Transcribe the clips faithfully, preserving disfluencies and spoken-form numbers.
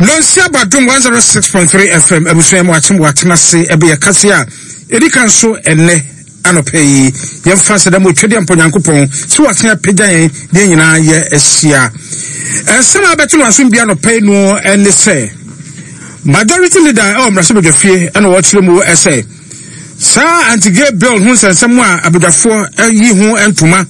Nonsia Badum one oh six point three F M, abusua mu akyem watena ase ɛbɛyɛ kase a ɛdi kan so ɛnɛ anɔpɛ yi. Yɛmfa sɛ dɛm otwadeɛ mpɔ Nyankopɔn sɛ watena apagya yɛn deɛ nyinaa yɛ ahyia. Ɛnsɛm a bɛto no asom bi anɔpɛ yi no ɛne sɛ Majority Leader ɛwɔ mmarahyɛbadwafie ɛna wɔkyerɛ mu ɛsɛ saa anti-gay bill ho nsɛnsɛm a abadwafoɔ ayi ho ntoma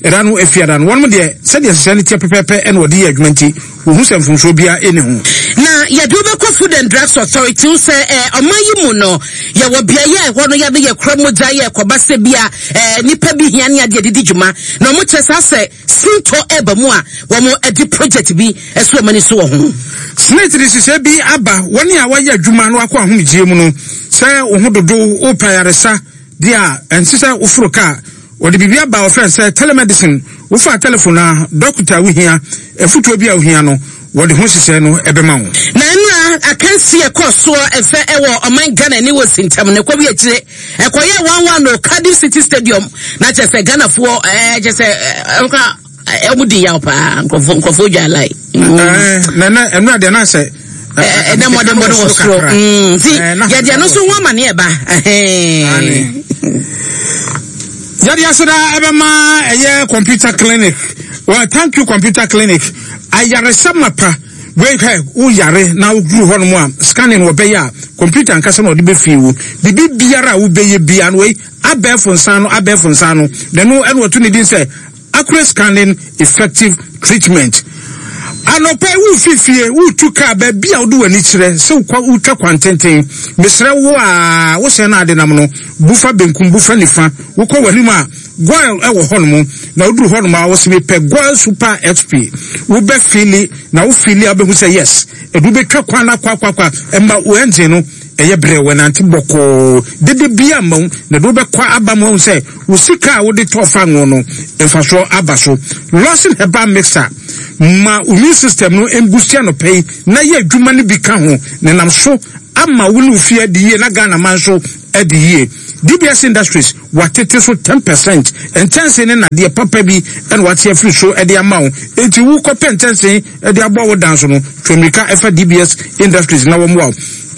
ɛda no efiada no, wɔn deɛ, sɛdeɛ hyehyɛ no teɛ pɛpɛɛpɛ ɛna wɔde yɛ adwuma, nti wɔhu sɛ mfomsoɔ biara ɛni ho. Na yɛde wobɛkɔ Food and Drugs Authority sɛ eh, ɔman yi mu no, yɛwɔ beaeɛ a ɛhɔ no yɛde yɛkora mogya yɛ ɛkɔba sɛ bi a eh, nipa bi hia ne adeɛ didi dwuma, na ɔmo kyerɛ saa sɛ sintɔ ɛba mu a, wɔn de project bi ɛso ɔmo ani so wɔ ho. SSNIT de hyehyɛ bi aba. Wɔne a wɔayɛ adwuma no akɔ ahomegyeɛ mu no, sɛ wo ho dodo wopɛ ayaresa deɛ a, ɛnse sɛ woforo kaa. Wɔde biribi aba a wɔfrɛ sɛ telemedicine. Wofa telephone a, dɔkota a wohia, afutuo bi a wohia no, wɔde ho hyehyɛ no ɛbɛma wo. Na nnura akansi ɛkɔ soɔ ɛfɛ ɛwɔ ɔman Ghana ne wɔ sintam ne kɔbi akyire ɛkɔyɛ one one no Cardiff City Stadium, na kyerɛ sɛ Ghanafoɔ ɛɛ kyerɛ sɛ ɛɛ ɛɛ ɔmo di yaw paa, nkurɔfoɔ nkurɔfoɔ dwa lai. Na na ɛnura deɛ na sɛ ɛnɛ mmɔdenbɔ no wɔ soro nti yɛde ɛno nso ho amaneɛ ba. Yɛde aseda ɛbɛma ɛyɛ Computer Clinic. Well, thank you, Computer Clinic. Ayaresa mapa wei hwɛ, woyare na woduru hɔ nom a, scanning wɔbɛyɛ a, computer ankasa na ɔde bɛfii wo biribi biara a wobɛyɛ bia no. Wei abɛɛfo nsa no, abɛɛfo nsa no na ɛno ɛna wɔto ne din sɛ accurate scanning, effective treatment. Anɔpa yi wofi fie wotu kaa, baabi a wode w'ani kyerɛ sɛ wokɔ wotwa kwantenten, mesrɛ wo a wohyɛ no ade nam no, bufa benkum, bufa nifa, wokɔ w'anim a, Goil ɛwɔ hɔnom, na woduru hɔnom a, wɔsɛ mepɛ Goil Super X P. Wobɛ fill na wo fill a, wobɛhu sɛ yes, ɛdu bɛtwa kwan no akɔ akɔ akɔ, ɛma wo engine no ɛyɛ brɛ, wɔnante bɔkɔɔ dede bia ma wo, na de wobɛkɔ aba mu ahu sɛ wo sika a wode tɔɔ fa ngo no, mfasoɔ aba so. Lawson Herbal Mixer ma immune system no mbusi anɔpɛ yi na yɛ adwuma no bi ka ho na nam so ama wo ne wo fie adi yie na Ghana man nso adi yie. D B S Industries watete so ten percent. Nkyɛnse ne nadeɛ papa bi ɛna wate afiri so ɛde ama wo, enti wokɔpɛ nkyɛnse ɛde abɔ wo dan so no, twɛ ɛfa D B S Industries na wɔn wa wo.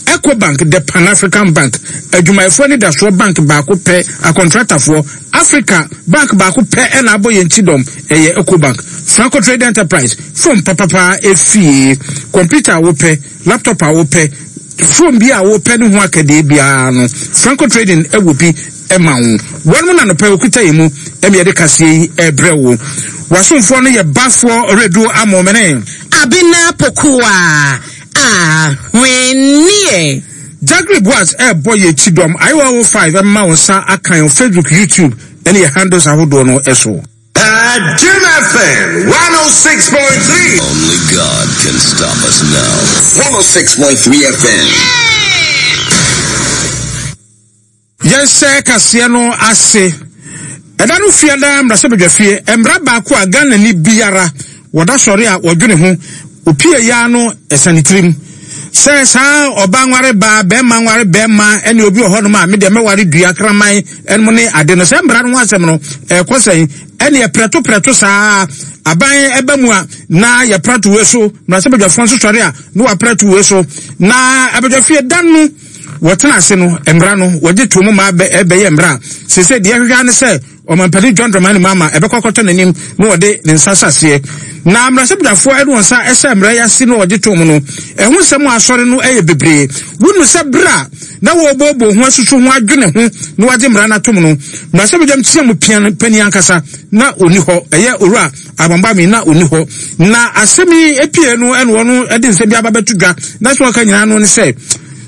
Ecobank, the Pan African Bank, adwumayɛfoɔ ne dasoɔ bank baako pɛ, akɔntratafoɔ Africa bank baako pɛ ɛna abɔ yɛn ti dɔm, ɛyɛ Ecobank. Franco Trade Enterprise, phone papapa efie, computer a wopɛ, laptop a wopɛ, phone bi a wopɛ ne ho akadeɛ biara no, Franco Trading ɛwɔ bi ɛma wo. Wɔn mu na nɔpɛ okuta yɛn mu ɛmi yɛde kaseɛ yi ɛbrɛ wo. Wasomfoɔ no yɛ bafoɔ redu amɔmene. Abena Pokuwa ahwenneɛ. Jagri Boas ɛɛbɔ yɛ ti dɔm ayewa o five ɛma wɔn nsa aka yɛn Facebook, YouTube ɛne yɛ handles ahodoɔ no ɛso. Jim F M one oh six point three. Only God can stop us now. one oh six point three F M. Yɛnhyɛ kaseɛ no ase. Ɛda no fiada mmarahyɛbadwa fie, mmara baako a Ghana ni biara wɔda sɔre a wɔdwene ho opie ya no, ɛsane tirim sɛ saa ɔba nware baa, bɛrima nware bɛrima, ɛne obi wɔ hɔnom a medeɛ mɛware dua kraman ɛnom ne ade no, sɛ mmara no ho asɛm no ɛkɔ sɛn, ɛne yɛprɛto prɛto saa aban ɛba mu a, na yɛprɛto wei so, mmarahyɛbadwafoɔ nso sɔre a na wɔaprɛto wei so. Na abadwafie da no wɔtena ase no, mmara no wɔgye to mu ma ɛbɛyɛ mmara a sese deɛ ɛhwehwɛ ne sɛ Ɔmampanin John Dramani Mahama ɛbɛkɔ akɔtɔ n'anim na wɔde ne nsa hyɛ aseɛ. Na mmarahyɛbadwafoɔ ɛde wɔn nsa ɛhyɛ mmara yi ase na wɔgye to mu no, ɛho nsɛm a asɔre no ɛyɛ bebree. Wonu sɛ bere a na wɔrebɔbɔ ho asusu ho adwene ho na wɔagye mmara no atom no, mmarahyɛbadwam tia mu pia panin ankasa na ɔni hɔ, ɛyɛ Owura Abambami, na ɔni hɔ. Na asɛm yi epie no, ɛna wɔn ɛde nsɛm bi aba bɛto dwa, na so wɔka nyinaa no ne sɛ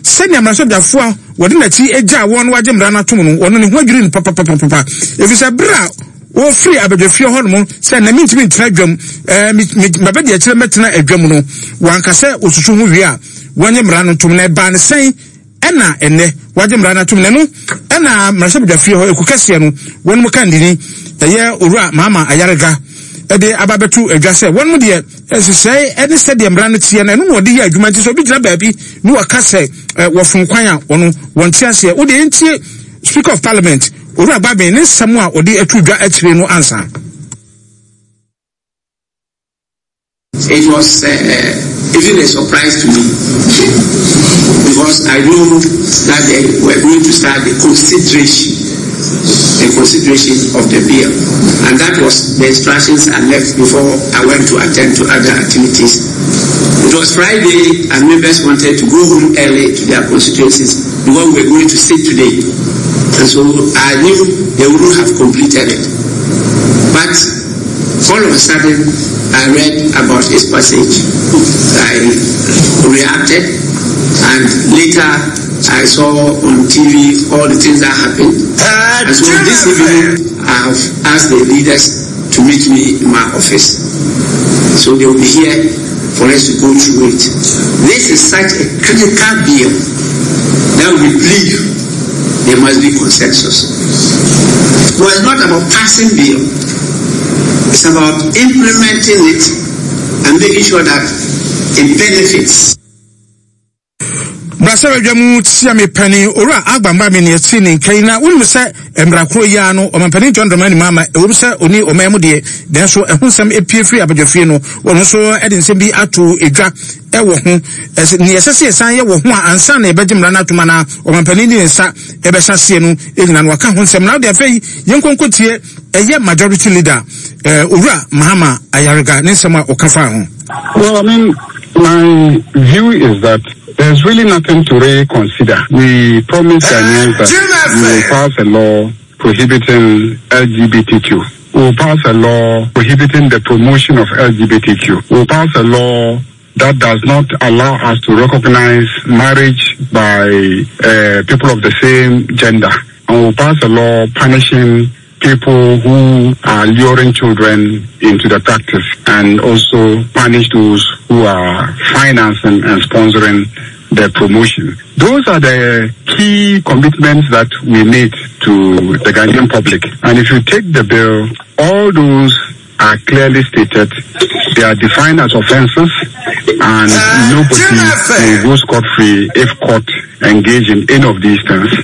sɛnea mmarahyɛbadwafoɔ a wɔde n'akyi agya wɔn wagye mmara no atom no, wɔn ne ho adwiri no papapapapa, efisɛ bere a wɔfiri abadwafie hɔ nom sɛ na mintumi ntena adwam, ɛɛ mabɛdi akyerɛ mɛtena adwam no, wanka sɛ osusu ho wie a wɔnyɛ mmara no ntom. Na ɛbaa ne sɛn ɛna ɛnɛ wagye mmara no atom? Na ɛno ɛna mmarahyɛbadwafie hɔ eku kɛseɛ no, wɔn mu kandini ɛyɛ Owura Mahama Ayarega ɛde aba bɛto adwa sɛ wɔn mu deɛ, nhyehyɛe ɛne sɛdeɛ mmara no teɛ no, ɛno na wɔde yɛ adwuma, nti sɛ obi gyina baabi ne wɔka sɛ ɛ wɔfom kwan a, wɔno wɔn te aseɛ. Wode yɛntie Speaker of Parliament Owura Bagbin ne nsɛm a wɔde ato dwa akyire no ansa. It was uh, even a surprise to me, because I know that they were going to start the consideration, the consideration of the bill. And that was the instructions I left before I went to attend to other activities. It was Friday and members wanted to go home early to their constituencies because we were going to sit today. And so I knew they wouldn't have completed it. But all of a sudden, I read about its passage. I reacted, and later I saw on T V all the things that happened. And so this evening, I have asked the leaders to meet me in my office. So they will be here for us to go through it. This is such a critical bill that we believe there must be consensus. Well, it's not about passing bill. It's about implementing it and making sure that it benefits. Brasɛbadwa tia me pani owura agbamba me ne ti ne nkai na wonim sɛ mmara yi ano ɔmampanin John Dramani Mahama ɛwom sɛ oni ɔman mu deɛ nanso ɛho nsɛm epie firi abadwafie no wɔn nso ɛde nsɛm bi ato edwa ɛwɔ ho ɛsɛ ne ɛsɛ sɛ yɛsan yɛ wɔ ho a ansa na yɛbɛgye mmara no atom anaa ɔmampanin de ne nsa ɛbɛhyɛ aseɛ no ɛnyina no waka ho nsɛm na wode afei yɛnkɔnkɔ tie ɛyɛ majority leader owura Mahama Ayariga ne nsɛm a ɔka fa ho. Well, I mean, my view is that there's really nothing to reconsider. We promised Ghanaians that we will pass a law prohibiting L G B T Q. We will pass a law prohibiting the promotion of L G B T Q. We will pass a law that does not allow us to recognize marriage by uh, people of the same gender. And we will pass a law punishing people who are luring children into the practice, and also punish those who are financing and sponsoring the promotion. Those are the key commitments that we made to the Ghanaian public. And if you take the bill, all those are clearly stated. They are defined as offenses, and nobody will go scot-free if caught engaged in any of these things.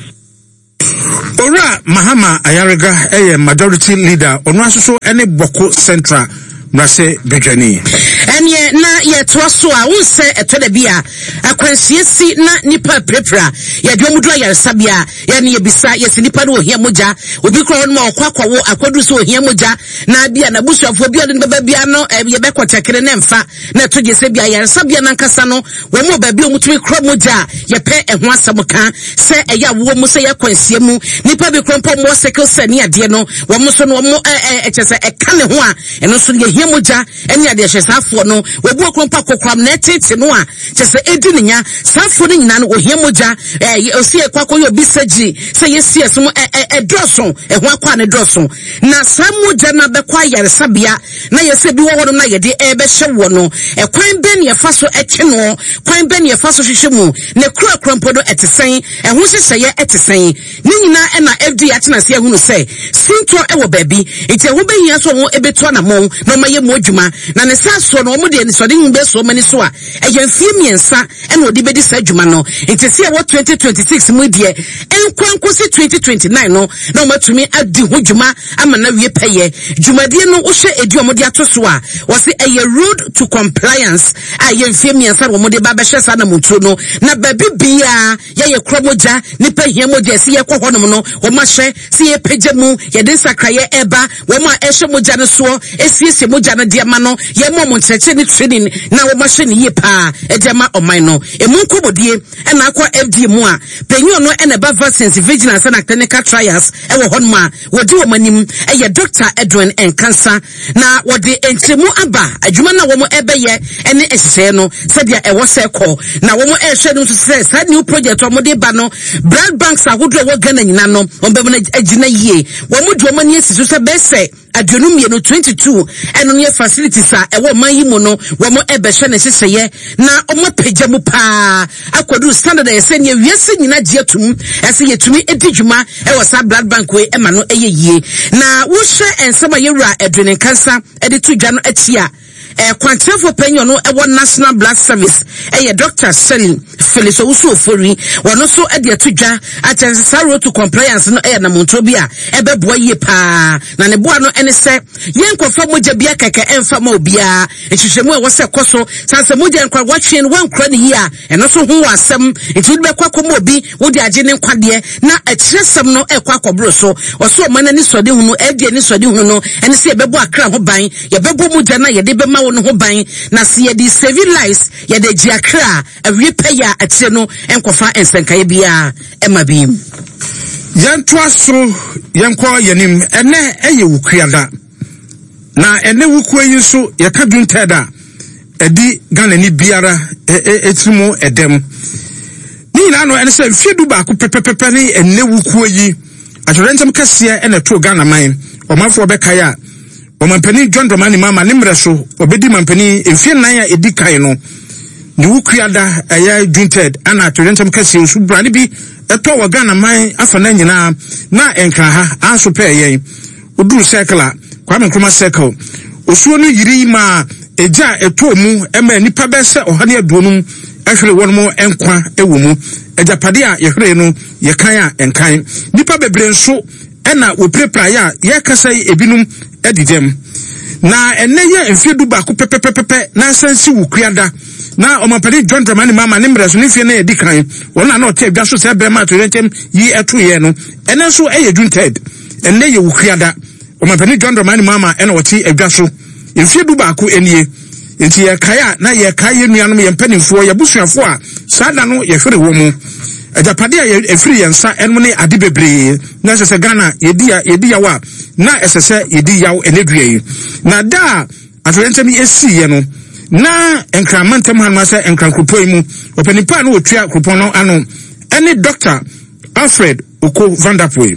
Owura Mahama Ayariga ɛyɛ majority leader ɔno asoso ɛne Bawku Central mmarahyɛ badwani. Ɛneɛ na yɛtoa so a wo sɛ ɛtɔ da bi a akwanhyia si na nipa pirapira yɛde ɔmo duru ayaresabea yɛne yɛbisa yɛsi nipa no ohia mogya obi kura hɔ nom a ɔkɔ akɔwo akɔduru sɛ ohia mogya na bia na busuafoɔ bi a ɔde no bɛba bia no yɛbɛkɔ kyɛkere ne mfa na ɛto gye sɛ bia ayaresabea nankasa no wɔn mu baabi a wɔn tumi kura mogya a yɛpɛ ɛho asɛm ka sɛ ɛyɛ awoɔ mu sɛ yɛ akwanhyia mu nipa bi kura mpo mo sickle cell ne adeɛ no wɔn nso no wɔn ɛɛ ɛkyɛ sɛ ɛka ne ho a ɛno nso yɛhia mogya ɛne adeɛ hyɛ saafoɔ no wɔbu okuro mpa kokoram na ɛtete no a kyɛ sɛ ɛdi ne nya saafoɔ no nyinaa no wɔhia mogya ɛɛ osi ɛkɔ akɔyɛ obi surgery sɛ yɛsi ɛso ɛ ɛdɔɔso ɛho akɔ a ne dɔɔso na saa mogya no abɛkɔ ayaresabea na yɛsɛ bi wɔ hɔnom na yɛde ɛbɛhyɛ wɔ no ɛkwan bɛn ne yɛfa so ɛtwe no kwan bɛn ne yɛfa so hwehwɛ mu ne kura kura mpo no ɛte sɛn ɛho hyehyɛeɛ ɛte sɛn ne nyinaa ɛna F D A atena ase ahunu sɛ sintɔ ɛwɔ baabi nti ɛho bɛhia so wɔn ɛbɛtu anamɔn na ɔma yɛ mu adwuma na ne sa soɔ no wɔn deɛ nisɔde hu bɛ soɔ mani so a ɛyɛ mfie mmiɛnsa ɛna ɔde bɛdi saa adwuma no nti si ɛwɔ twenty twenty six mu deɛ ɛnkɔ twenty twenty nine no na wɔn atumi adi ho dwuma ama na wie pɛyɛ dwumadie no wohyɛ edi wɔn de ato so a wɔsi ɛyɛ road to compliance a yɛ mfie mmiɛnsa na wɔn de ba bɛhyɛ saa namutuo no na baabi biara yɛyɛ kura mogya nipa hia mogya esi yɛ kɔ hɔnom no wɔn ahyɛ si yɛ pagya mu yɛde nsakraeɛ ɛba wɔn a ɛhyɛ mogya no soɔ esiesie mogya no deɛ ma no yɛ mɔ mo nkyerɛkyerɛ ne training na wɔn ahyɛ ne yie paa ɛde ama ɔman no emu nkɔmɔdie ɛna akɔ F D A mu a panyin no ɛna ɛba vaccines vigilance and clinical trials ɛwɔ hɔnom a wɔdi wɔn anim ɛyɛ Doctor Edwin Nkansa na wɔde nkyerɛmu aba adwuma na wɔn ɛbɛyɛ ɛne nhyehyɛeɛ no sɛdeɛ ɛwɔ sɛ kɔ na wɔn ɛrehwɛ no nso sɛ saa new project wɔn de ba no blood banks ahodoɔ ɛwɔ Ghana nyinaa no wɔn bɛn no agyina yie wɔn de wɔn ani asi so sɛ bɛsɛ aduonu mmienu twenty two ɛno no yɛ facilities a ɛwɔ ɔman yi mu no wɔn ɛbɛhwɛ ne nhyehyɛeɛ na wɔn apagya mu paa akɔduru standard a yɛsɛ nea wiase nyinaa gye atum ɛsɛ yɛtumi edi dwuma ɛwɔ saa blood bank wei ɛma no ɛyɛ yie na wohyɛ nsɛm a yɛwura Edwin Nkansa ɛde to dwa no akyi a kwankyerɛfoɔ panyin no ɛwɔ National Blood Service ɛyɛ Doctor Shirley Felix Owusu Ofori, wɔno nso de ato dwa akyerɛ sɛ saa road to compliance no yɛ anamontuo bi a ɛbɛboa yie paa, na ne boa no ne sɛ yɛnkɔfa mogya bia kɛkɛ ɛmfa ma obiara. Nhwehwɛmu a ɛwɔ sɛ ɛkɔ so san sɛ mogya nkora wɔatwe no wɔankora no yie a, ɛno nso ho wɔ asɛm, nti wode bɛkɔ akɔma obi wode agye ne nkwadeɛ na akyerɛsɛm no ɛkɔ akɔboro so. Ɔsɛ ɔma no anisoadehunu, ɛde anisoadehunu no ɛne sɛ yɛbɛbɔ akra ho ban, yɛbɛbɔ mogya no a yɛde bɛma wo no ho ban, na sɛ yɛde save lives, yɛde gye akra a awie pɛyɛ a akyire no nkɔfa nsɛnkaeɛ biara ɛma bi. Yɛntoa so, yɛnkɔ yɛnim. Ɛnɛ ɛyɛ Wukuada, na ɛnɛ wukuo yi nso yɛka June third a ɛdi Ghana ni biara ɛtiri mu ɛdɛm. Ne nyinaa no ɛne sɛ mfeɛ du baako pɛpɛpɛpɛ ne ɛnɛ wukuo yi atwerɛntɛm kɛseɛ ɛna ɛtoo Ghana man. Ɔmanfoɔ bɛkae a ɔmampanin John Dramani Mahama ne mmerɛ so ɔbɛdi mampanin mfeɛ nnan a ɛdi kan no ne wukuada ɛyɛ June third ana atwerɛntɛm kɛseɛ osu brane bi ɛtɔ wɔ Ghana man afa na nyinaa na nkra ha anso pɛɛ yɛn. Oduru circle a Kwame Nkrumah circle osuo no yiri ma egya ɛtɔ mu ɛma nipa bɛyɛ sɛ ɔha ne aduonum ɛhwere wɔn mo nkwa ɛwɔ mu. Agyapade a yɛhwere no yɛkan a nkan. Nipa bebree nso ɛna wɔpirapiraeɛ a yɛkasa yi ebinom adi dɛm. Na ɛnɛ yɛ mfeɛ du baako pɛpɛpɛpɛ na asan si Wukuada na ɔmampanin John Dramani Mahama ne mmerɛ so ne mfeɛ no yɛdi kan wɔn a na ɔte adwa so sɛ bɛrima atoyerɛnkyɛm yi ɛto yɛ no ɛnɛ nso ɛyɛ June third. Ɛnɛ yɛ Wukuada, ɔmampanin John Dramani Mahama ɛna ɔte adwa so mfeɛ du baako nie. Nti yɛkae a na yɛkae yɛn nuanom, yɛn mpanimfoɔ, yɛn abusuafoɔ a saa da no yɛhwere wɔ mu. Agyapade a ɛfiri yɛn nsa ɛnom ne ade bebree na ɛsɛ sɛ Ghana yɛdi yɛdi yaw a na ɛsɛ sɛ yɛdi yaw ɛnɛ dua yi. Na da a atoyerɛnkyɛm yi esiiɛ no na Nkraman ntam hanom asɛ Nkran kuropɔn yi mu ɔpanin pa a na wɔtua kuropɔn no ano ɛne Doctor Alfred Oko Vanderpuye.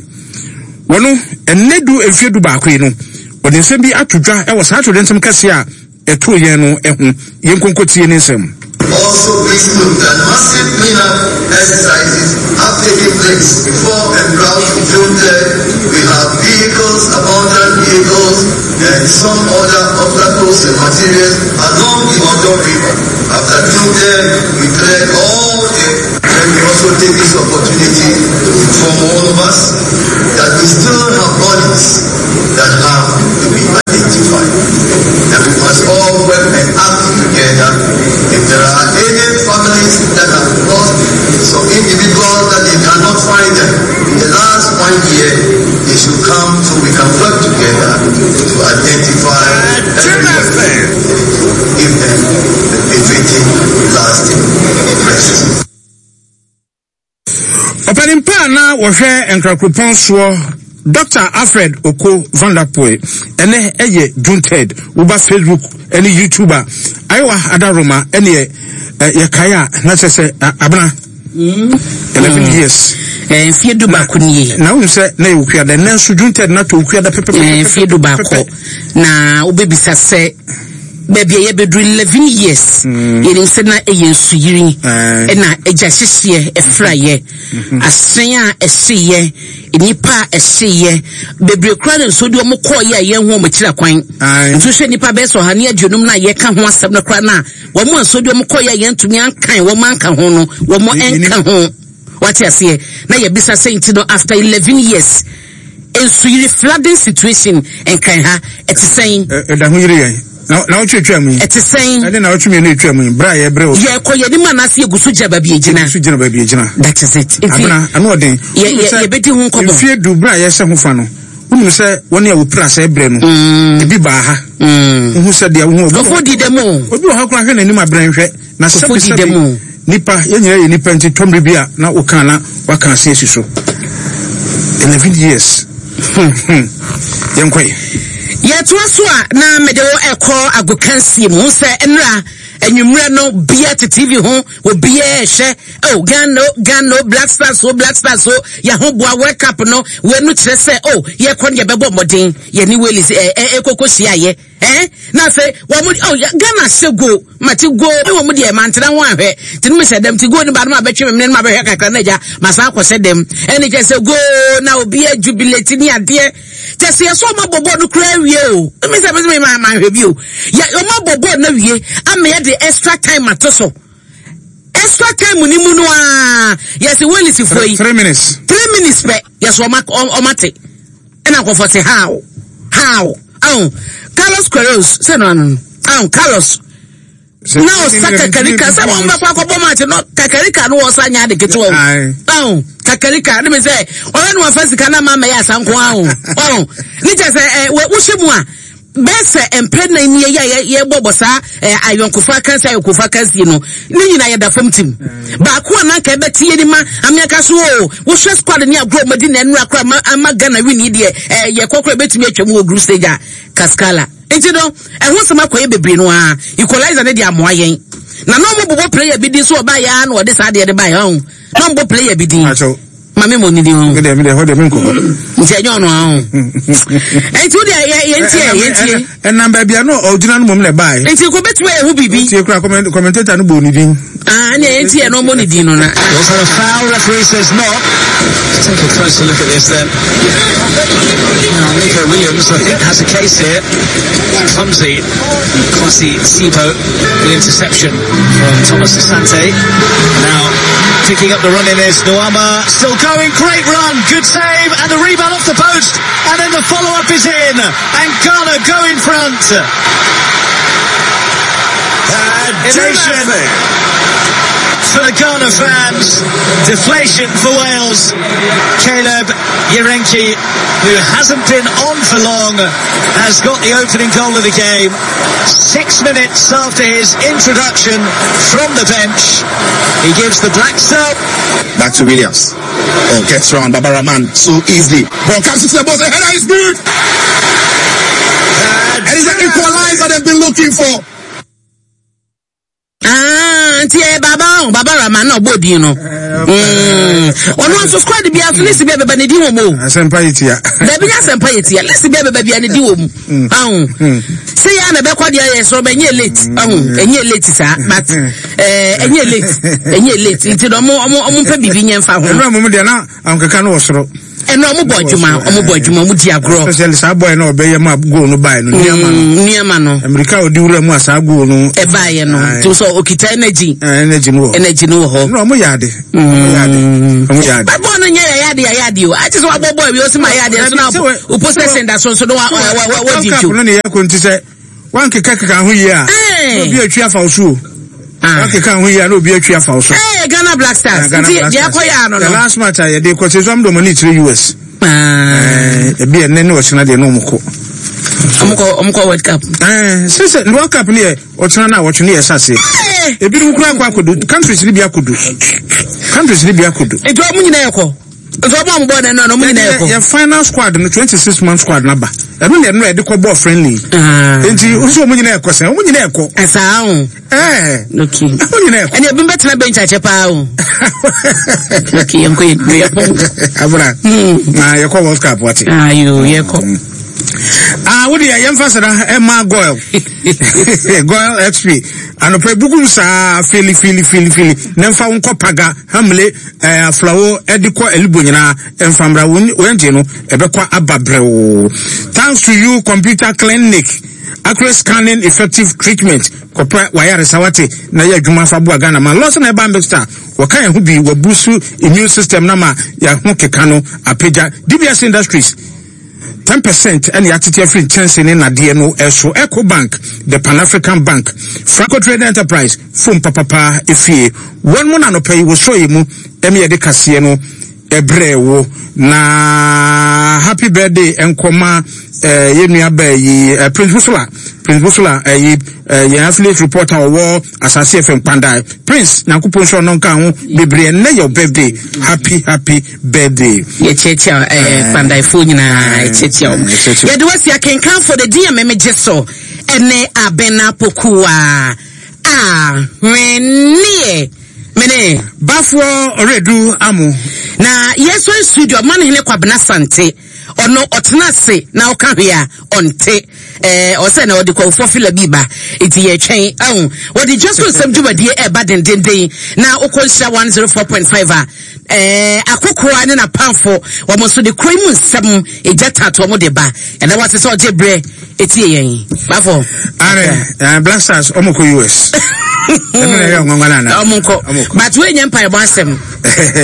Wɔno ɛnɛ du mfeɛ du baako yi no wɔde nsɛm bi ato dwa ɛwɔ saa atoyerɛnkyɛm kɛseɛ a ɛto yɛn no ɛho. Yɛn nkonkotie ne nsɛm. Also, please note that massive cleanup exercises have taken place before and route to June third. We have vehicles, abandoned vehicles, and some other obstacles and materials along the Odaw River. After June third, we cleared all the. Let me also take this opportunity to inform all of us that we still have bodies that have to be identified. And we must all work and act together. If there are any families that have lost some individuals that they cannot find them in the last one year, they should come so we can work together to identify everybody and give them the befitting lasting rest. Ɔpanin pa na wɔhwɛ Nkrakuropɔn soɔ Doctor Alfred Oko Vanderpuye ɛnɛ ɛyɛ June third. Woba Facebook ɛne YouTube a ayewa adaroma ɛne yɛkae a na kyerɛ sɛ abena eleven years. Mfeɛ du baako nie. Na wohu sɛ na yɛ Wukuada ɛnɛ nso June third na to Wukuada pɛpɛpɛpɛ. Mfeɛ du baako na wobɛbisa sɛ baabi a yɛbɛduru eleven years yɛnim sɛ na ɛyɛ nsuyiri ɛna agya hyehyeɛ ɛfrayɛ asen a ɛhyeyɛ nnipa a ɛhyeyɛ bebree koraa na nsuo de wɔn kɔɔyɛ a yɛn ho wɔn akyiri akwan. Nso hwɛ nnipa bɛyɛ sɛ ɔha ne aduonum na yɛka ho asɛm no koraa na wɔn a nsuo de wɔn kɔɔyɛ a yɛntumi ankan wɔn anka ho no wɔn nka ho. Wate aseɛ na yɛbisa sɛ nti no after eleven years nsuyiri flooding situation nkan ha ɛte sɛn? Ɛda ho yiri yɛn. Na na wotwe twa mu yi. Ɛte sɛn? Ɛne na wotwe mmienu etwa mu yi. Bra yɛ brɛ o. Yɛ kɔ yɛ nimu anaasɛ yɛ gu so gyina baabi egyina. Yɛ gu so gyina baabi egyina. That is it. Nti abena ano ɔden. Yɛ yɛ yɛbɛdi ho nkɔmɔ. Mfie du bra yɛ hyɛ ho fa no. Wonim sɛ wɔne a wɔpira sɛ brɛ no. Ebi baa ha. Wohu sɛ deɛ wohu. Kɔfo di dɛm o. Obi wɔ ha koraa hwɛ n'anim abrɛ nhwɛ. Na sɛbi sɛbi nipa yɛn nyinaa yɛ nipa nti tɔmri bi a na woka na waka ase asi so. Eleven years. Yɛn kɔ yi. Yɛtoa so a na mede wo ɛkɔ agokansie mu sɛ nnra anwummerɛ no bia te T V ho obiara ɛhwɛ oh Ghana Ghana Black Stars o Black Stars o yɛho boa World Cup no wei no kyerɛ sɛ oh yɛkɔ no yɛbɛbɔ mmɔden yɛne Wales ɛ ɛ ɛkɔkɔ hyiaeɛ eh na afei wɔn mo oh Ghana hyɛ go mate go ne wɔn deɛ mantena ho ahwɛ nti no mehyɛ dɛm ti go ne ba no ma bɛtwe me mene no ma bɛhwɛ kakra na agya ma san akɔhyɛ dɛm ɛne kyerɛ sɛ go na obiara jubilate ne adeɛ kyerɛ sɛ yɛsɛ ɔma bɔ bɔɔl no koraa awie o ɛmi sɛ ɛmi sɛ ma ma ahwɛ bi o yɛ ɔma bɔ bɔɔl no awie ama yɛde extra time ato so Extra time ni mu no a yɛsɛ Wales fo yi three minutes three minutes pɛ yɛsɛ ɔma ɔma te ɛna nkɔfɔ se how how oh Carlos Queiroz sɛ no ano oh Carlos na ɔsa kakarika sɛ wɔn bɛkɔ akɔbɔ match no kakarika no wɔsa nya ade ketewa o oh kakarika ne mi sɛ ɔyɛ no wafa sika na ama mɛyɛ asanko aho oh ne kyɛ sɛ ɛ wohyɛ mu a bɛsɛ mpɛ na ni yɛ yɛ bɔbɔ saa ayɔnkofa kansi ayɔnkofa kansi no ne nyinaa yɛ da fam tim baako a nanka ɛbɛte yɛ ni ma amiaka so o wohwɛ squad ne agorɔ ɔmadi na ɛnura kora ama ama Ghana win yi deɛ ɛɛ yɛ kɔkɔrɔ ebɛtumi atwa mu wɔ group stage a kaskala nti no ɛho nsɛm akɔyɛ bebree no a equalizer ne de amoa yɛn na na ɔmo bobɔ player bi din so ɔbaa yɛ a na ɔde saa deɛ de baa yɛ ɔho na ɔmo bɔ player bi din mami mo nidi ho mede mede ho de me nko nti enyo no aho enti wo de ye ntie ye ntie enam ba bia no ogyina no mom na bae enti ko betime ehu bibi ntie kura commentator no bo ni din ah ne ye ntie no mo ni din no na was that a foul? Referee says not. Let's take a closer look at this then. Now Nico Williams, I think, has a case here. Clumsy Kwasi Sibo, the interception from Thomas Asante. Now picking up the run in is Nuamah, still going, great run, good save, and the rebound off the post, and then the follow-up is in, and Ghana go in front. Elation for the Ghana fans, deflation for Wales. Caleb Yirenkyi, who hasn't been on for long, has got the opening goal of the game. Six minutes after his introduction from the bench, he gives the Black Star. Back to Williams. Oh, gets round Baba Rahman so easily. Ball comes into the box, the header is good. And it's an equalizer they've been looking for. Ah, nti eh baba baba Rahman na obodi no. Mm. Ono nso squad bi aso list bi abeba ne di wo mo. Asempa yetia. Da bi asempa yetia. List bi abeba bi ne di wo mu. Ahun. Se ya na be kwa dia ye so be nye late. Ahun, enye late sa, but eh enye late. Enye late. Nti no mo mo mo mpa bibi nye mfa ho. Eno mo de na ankeka no wosoro. Eno mo bo adwuma, omo bo adwuma, mo di agro. Especially sa boy na obeye ma goal no bae no, niama no. Niama no. America odi wura mu asa goal no. E bae no. To so okita energy. Energy no. Energy no ho. No mo yade. Mo yade. Mo yade. Ba boy no nya yade yade o. Ati so abo boy we o si ma yade so na o possession da so so no wa wa wa di jo. No ne ye ko nti se wan keka keka ho yi a. Obi atwi afa wo so. Ah. Okay, can we no be a tree for so? Hey, Ghana Black Stars. The last match I did because some do money to U S. Ah, be a nene or de no moko. Omko omko World Cup. Eh, since the World Cup near or China watch near Sassi. A bit of countries Libya could do. Countries Libya could do. It won't. Your final squad, the twenty-six man squad number. I mean, they're not ball friendly. And you also when you when you Eh, okay. And you've been better bench at Chapao. Okay, I'm going. Abra, ah, you call World Cup, what? Ah, you, you call. Ah, what do you emphasize? Emma Goyle, Goyle X P. And a bukum sa fili fili fili fili. Nemfa unko paga hamle eh flower ediko elibo nyina emfamra wenje no ebekwa ababreo. Thanks to you computer clinic. Accurate scanning effective treatment. Kopra wayare sawate na ye adwuma fa bo Ghana man. Lawson na eba mixta. Wɔka yɛn ho bi wabusu immune system na ma ya ho keka no apagya D B S Industries ten percent and yatete free chance ne nade no eso Eco Bank, the Pan African Bank, Franco Trade Enterprise, phone papa efie. One mo na no pay wo so yemu em ye de kase no ebrewo na happy birthday enkoma eh ye nua ba yi Prince Busola Prince Busola eh ye affiliate reporter wo Asase F M Pandai Prince Nyankopon so no nka ho bebre ne your birthday, happy happy birthday ye cheche eh Pandai fo nyina cheche o ye de wasi akenkan for the D M M jeso ene abena pokuwa ah wenie mene bafo oredu amu na yeso studio man hene kwabena sante ono otena se na oka hwea onte Ɛɛ ɔsɛ na ɔde kɔnfoɔ fila bi ba eti yɛtwɛn ɛho wɔde dwa so nsɛm dwumadie ɛɛba dendenden na wokɔ nhyira one zero four point five a ɛɛ akokora ne n'apamfo wɔn nso de kuro yi mu nsɛm egya tato wɔn de ba ɛna wɔase sɛ ɔgye brɛ etie yɛn bafo. Are uh, Black Stars ɔmo kɔ U S. Ɛno na ɛyɛ ɔnwanwa na ana. Ɔmo nkɔ, but wei nyɛ mpaebɔ asɛm.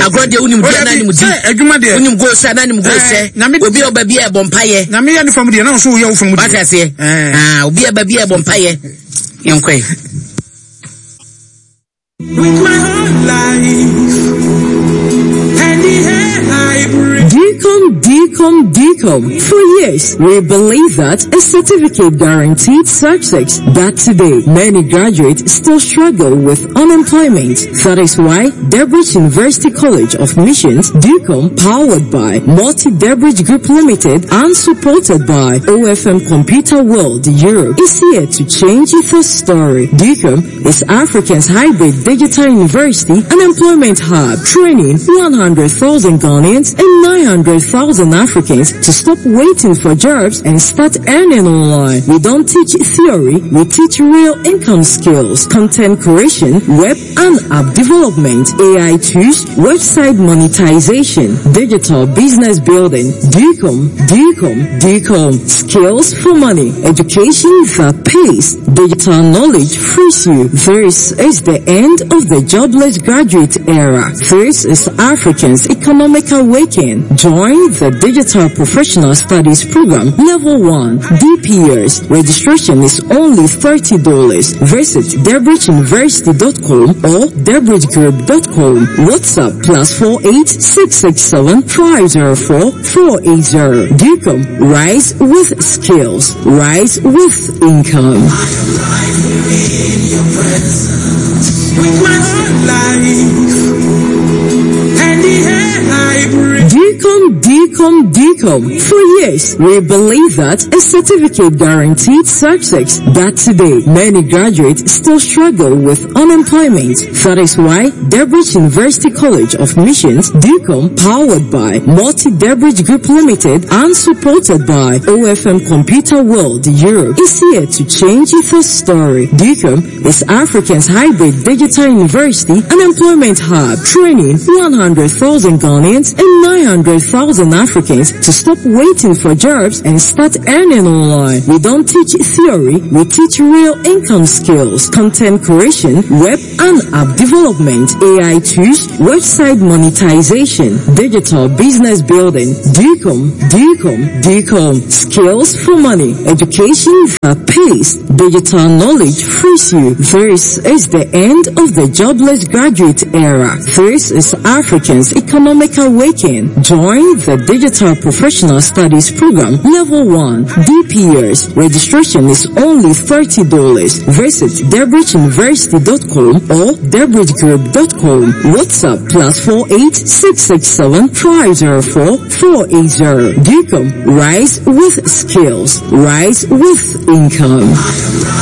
Agorɔ deɛ, wonim di anaa nim di. Adwuma deɛ. Wonim goal sɛ anaa nim goal sɛ. Obi a ɔba bi a ɛbɔ mpayɛ. Nyame yɛ ne fam deɛ na ɔso woyɛ wo fam deɛ. Wate aseɛ? Ah, obi a ɛba bi a ɛbɔ mpayɛ. Yɛnkɔe. With my whole life and the air I breathe. DCOM, DCOM, DCOM. For years, we believe that a certificate guaranteed success. But today, many graduates still struggle with unemployment. That is why Debridge University College of Missions, DCOM, powered by Multi Debridge Group Limited and supported by O F M Computer World Europe, is here to change the story. DCOM is Africa's hybrid digital university and employment hub, training one hundred thousand Ghanaians and nine hundred thousand Africans to stop waiting for jobs and start earning online. We don't teach theory, we teach real income skills, content creation, web and app development, A I tools, website monetization, digital business building. DCOM, DCOM, DCOM. Skills for money, education that pays, digital knowledge frees you. This is the end of the jobless graduate era. This is Africans' economic awakening. Join the Digital Professional Studies Program Level one, D P S. Registration is only thirty dollars. Visit debridgeuniversity dot com or debridgegroup dot com. WhatsApp plus four eight six six seven five zero four four eight zero. DCOM, rise with skills, rise with income. With my whole life and the air I breathe. DCOM, DCOM, DCOM. For years, we believe that a certificate guaranteed success. But today, many graduates still struggle with unemployment. That is why Debridge University College of Missions, DCOM, powered by Multi Debridge Group Limited and supported by O F M Computer World Europe, is here to change the story. DCOM is Africa's hybrid digital university and employment hub, training one hundred thousand Ghanaians and nine hundred thousand Africans to stop waiting for jobs and start earning online. We don't teach theory, we teach real income skills, content creation, web and app development, A I tools, website monetization, digital business building. DCOM, DCOM, DCOM. Skills for money, education that pays, digital knowledge frees you. This is the end of the jobless graduate era. This is Africans' economic awakening. Join the Digital Professional Studies Program Level one, D P S. Registration is only thirty dollars. Visit debridgeuniversity dot com or debridgegroup dot com. WhatsApp plus four eight six six seven five zero four four eight zero. DCOM, rise with skills, rise with income.